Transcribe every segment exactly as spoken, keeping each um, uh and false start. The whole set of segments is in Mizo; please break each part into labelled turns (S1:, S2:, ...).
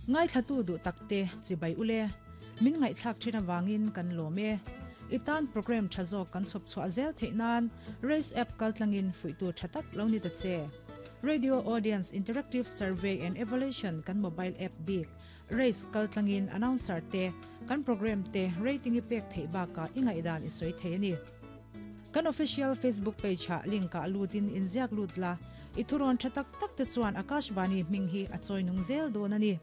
S1: Ngai thlatu du takte chibai ule min ngai thlak thina wangin kan lome itan program thazo kan chop chwa zel theinan race app kaltlangin fuitu thatak lo ni ta che Radio Audience Interactive Survey and Evaluation kan mobile app big race kaltlangin announcer te kan program te rating i pek thei ba ka ingai dan i soi thei ani kan official Facebook page ha link ka lutin inziak lut la ithuron thatak tak te chuan Akashvani hming hi a choinung zel don ani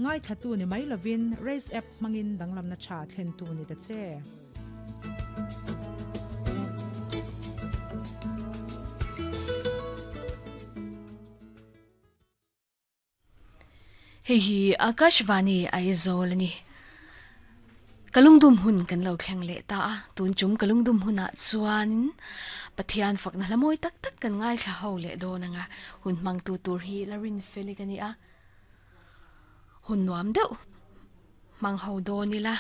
S1: ngai thatu ni mai lovin race app mangin danglam na tha thlen tu ni ta che
S2: Hei hi Akashvani Aizawl ni kalungdum hun kan lo thleng le ta a tun chum kalungdum huna chuan Pathian fakna hlamoi tak tak kan ngai thla ho le do nanga hun mang tu tur hi larin felikani a hun nuam deuh mang ho do ni la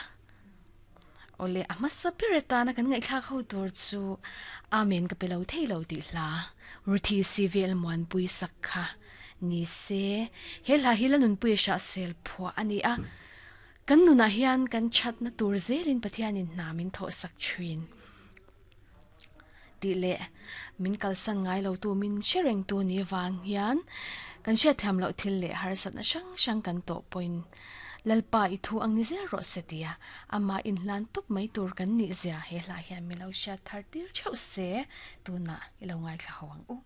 S2: ole amasa pireta na kan ngai thla ho tur chu amen ka pelo theilo ti hla ruthi civil mon pui sakha ni se he hla hi la nun pui sha sel phua ani a kan nuna hian kan chat na tur zelin Pathianin namin tho sak thuin ti le min kalsan ngai lo tu min sharing tu ni wang hian kan she tham lo thil le har sat na sang sang kan to point lalpa i thu ang ni zel ro setia ama in hlan tup mai tur kan ni zia he hla hian mi lo sha thar tir cheu se tu na ilo ngai thla hawang u.